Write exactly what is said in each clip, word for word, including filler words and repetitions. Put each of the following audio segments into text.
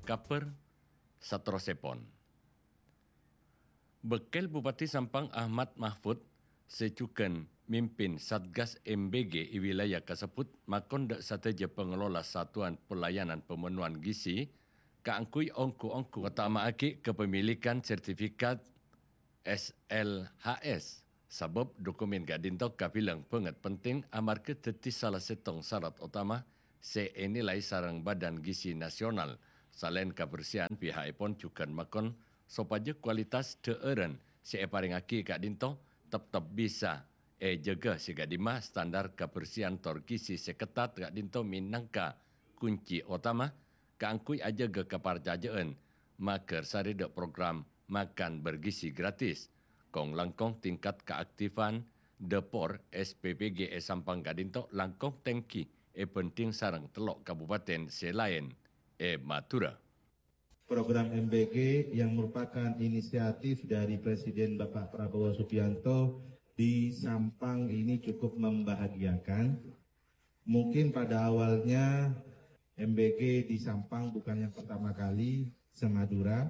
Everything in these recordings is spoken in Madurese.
Kabhâr saterrossèpon. Bâkkèl Bupati Sampang Ahmad Mahfud sè jhughân mimpin Satgas M B G è wilayah kasebbhut makon dâ' sadhâjâ pangelola satuan pelayanan pemenuhan gizi kaangghuy ongghu-ongghu otama'aghi kapamilikan sertifikat S L H S, sabâb dokumen ka'dinto kabilang bângèt penting amarghâ dhâddhi sala sèttong sarat otama sè ènilai sareng Badan Gizi Nasional. Salaèn kabersihan, piha'èpon jhughân makon sopajâ kualitas dhâ'ârân sè èparèngaghi ka'dinto teptep bisa èjâgâ sè ka'dimma standar kabersihan tor gizi sè ketat ka'dinto mènangka kunci otama kaangghuy ajâgâ kaparcajâ'ân maghârsarè dâ' program makan bergizi gratis. Kong-langkong tingkat kaaktifan dâpor S P P G è Sampang ka'dinto langkong tèngghi èbhândhing sareng tello' kabupaten sè laèn è Madhurâ. Program M B G yang merupakan inisiatif dari Presiden Bapak Prabowo Subianto di Sampang ini cukup membahagiakan. Mungkin pada awalnya M B G di Sampang bukan yang pertama kali se-Madura,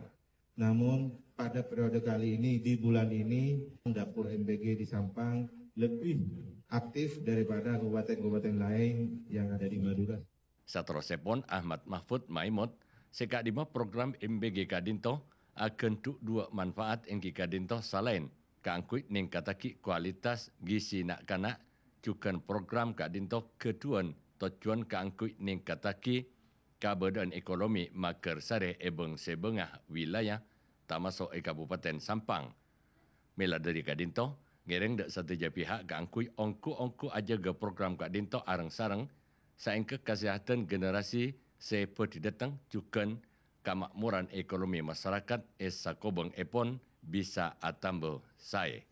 namun pada periode kali ini, di bulan ini, dapur M B G di Sampang lebih aktif daripada kabupaten-kabupaten lain yang ada di Madura. Saterrossèpon, Ahmad Mahfud maèmot sè ka'dimma program M B G ka'dinto aghândhu' duwâ' manfaat èngghi ka'dinto salaèn kaangghuy nèngkattaghi kualitas gizi na'-kana', jhughân program ka'dinto ghâdhuwân tojjhuwân kaangghuy nèngkattaghi kabâdâ'ân ekonomi maghârsarè è bâng-sèbângnga wilayah, tamaso' è Kabupaten Sampang. Mèla dhâri ka'dinto, ngèrèng dâ' sadhâjâ pihak kaangghuy ongghu-ongghu ajâgâ program ka'dinto areng-sareng, saèngghâ kasèhadhân generasi sè bhâdhi dâteng jhughân kamakmoran ekonomi masarakat è sakobhângngèpon bisa atamba saè.